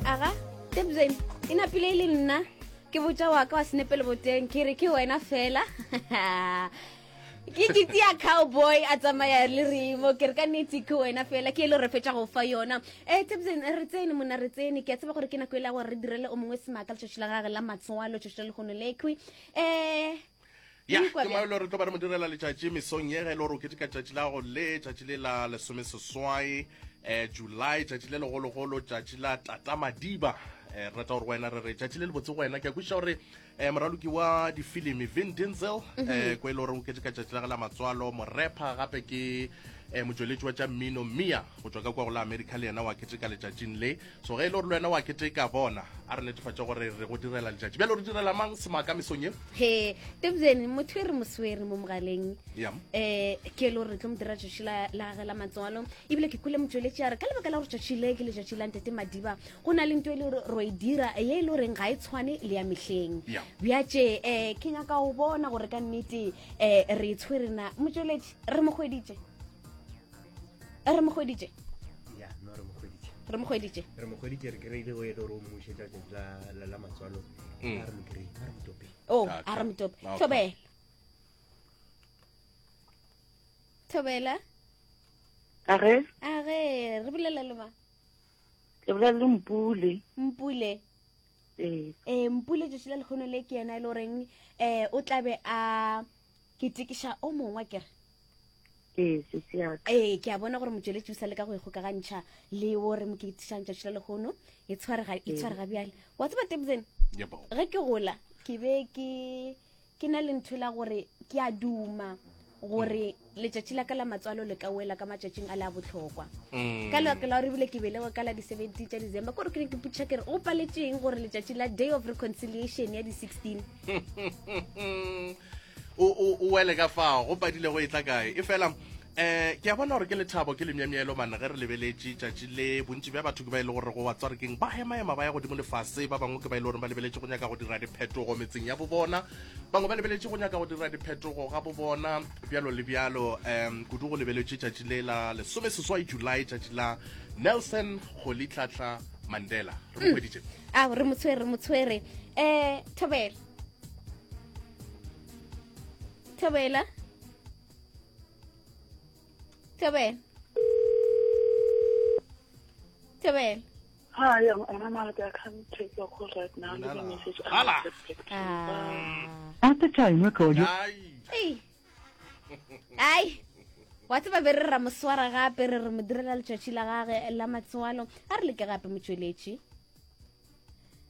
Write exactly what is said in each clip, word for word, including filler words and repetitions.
Aga Tebzen, e napile e le nna ke botša wa ka wa senepele boteng, ke re ke wena fela. Ke ke tia cowboy a tsamaya le remo, ke re ka nnete ke wena fela, ke e le re fetša go fa yona. um Tebzen, re tsene monna, re tsene. Ke a tseba gore ke nako e la gore re direle o mongwe semaka letšatši la gage la matswalo, tšatši la lehono lekhwi. um Ya, ke maelo re tlo ba re mo direla letšatši mesong ye, ge e le gore o keteka tšatši la go le tšatši le la lesomeseswai um July, tšatši le legologolo, tšatši la Tata Madiba. um re rata gore wena re re tšatši le lebotse go wena. Ke a kwešiša gore um moraloki wa difilimi Vin Diesel um ko e le gore o keteka tšatši la ge la matswalo, morepa gape ke um motšweletši wa tša mmino Mia go tšwa ka kwa go la America, le yena wa keteka letšatšing le. So ge e le gore le wena wa keteka, bona a re netefatše gore re go direla letšatši. Bjalo re direla mang semaka mesong ye? He Tebzen, motho e re mo swere mo mogaleng ya um ke e le gore re tlo mo dira tšatši la la gage la matswalo, ebile ke kwele motšweletši a re ka lebaka la gore tšatši le ke letšatši la Ntate Madiba, go na le nto e le gore ro e dira ye e le goreng ga e tshwane le ya mehleng. Ya. Bjatše um ke nyaka go bona gore ka nnete um re e tshwere na. Motšweletši, re mo hweditše, re mo hweditše? Ya, no, re mo hweditše. Re mo hweditše. Re mo hweditše, re kry-ile go e le gore o mmušetša tšatši la la- la matswalo. Mm. A re mo kry-e, a re mo tope. O Okay. a re motope. Okay. Thobela, thobela. A ge? A ge re bolela le mang? Ke bolela le Mpule. Mpule. Ee. um Mpule, tšatši la lekgono le ke yena e le goreng um o tlabe a ketekiša o mongwe, kere? Ee, sesi yaka. Ee, ke a bona gore motšweletši o sa leka go ikgokagantšha le o re mo ketišang tšatši la lekgono. E tshwarega, e tshwarega bjale. Wa tseba Tebzen, Yebo. ge ke gola ke be ke ke na le ntho la gore ke a duma gore letšatši la ka la matswalo le ka wela ka matšatšing a le a bohlokwa, Mm. ka lebaka la gore ebile ke belegwe ka la di-seventeen tša December. Kore ke ne ke potšiša ke re go paletseng gore letšatši la Day of Reconciliation ya di-sixteen o o o wele ka fao go padile go e tla kae. E fela um ke a bona gore ke lethabo, ke lemyamyelo mane ge re lebeletše tšatši le. Bontši bja batho ke ba e le gore go wa tswarekeng ba emaema ba ya godimo lefase. Ba bangwe ke ba e le gore ba lebeletše go nyaka go dira diphetogo metseng ya bo bona, bangwe ba lebeletše go nyaka go dira diphetogo ga bo bona, bjalo le bjalo. um kudu go lebeletše tšatši le la lesomeseswai July, tšatši la Nelson Rolihlahla Mandela. Re mo hweditše. A re mo tshwere, re mo tshwere. um thobela, thobela, thobela, thobela. Hi, I'm Anna Malaka. I can't take your call right now. Leave a message and Hala. I'll get back to you. Bye. Ah. At the tone, record your Ai. Ei. Ai, wa tseba be re ra mo swara gape, re re mo direla letšatši la gage la matswalo. A re leke gape, motšweletši,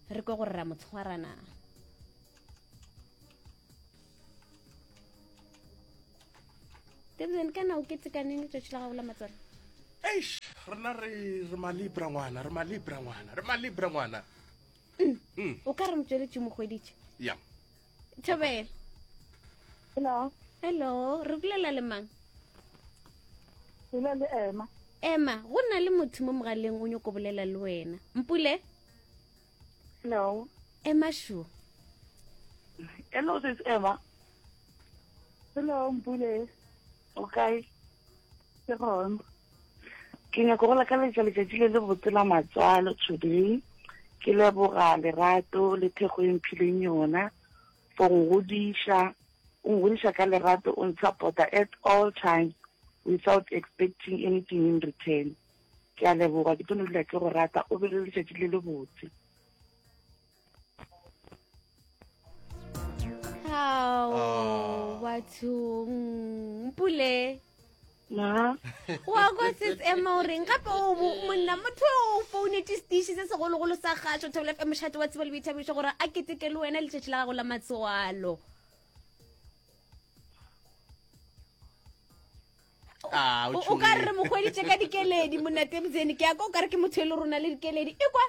re kwe gore ra mo tshwara na. Tebzen, kana o ketekaneng letšatši la gago la matswalo? Eish, rena re re malibra ngwana, re malibra ngwana, re malibra ngwana. O ka re motšweletši mo hweditše. Ya. Thobela. Hello. Hello, re bolela le mang? Bolela le Emma. Ema, go na le motho mo mogaleng o nyako bolela le wena. Mpule. Hello. Ema shu. Hello, sis Emma. Hello, Mpule. Okay. Ke gona. Ke nyaka go lakaletša letšatši le le botse la matswalo today. Ke leboga lerato le thekgo e mphileng yona for go godiša, o ngodiša ka lerato, o nsupporta at all times without expecting anything in return. Ke a leboga, ke tlo no dula ke go rata. O be le letšatši le le botse. Hao. Ah. Bathong, Mpule. Na. Wa kwa sets Ema o reng gape o bo- monna motho o founetse setiši se segologolo sa kgašo Thobela F M, mošate wa tsebo le boithabišo, gore a keteke le wena letšatši la gago la matswalo. Ah, o o ka re re mo hweditše ka dikeledi. Monna Tebzene, ke ya ka o ka re ke motho e le rona le dikeledi e kwa.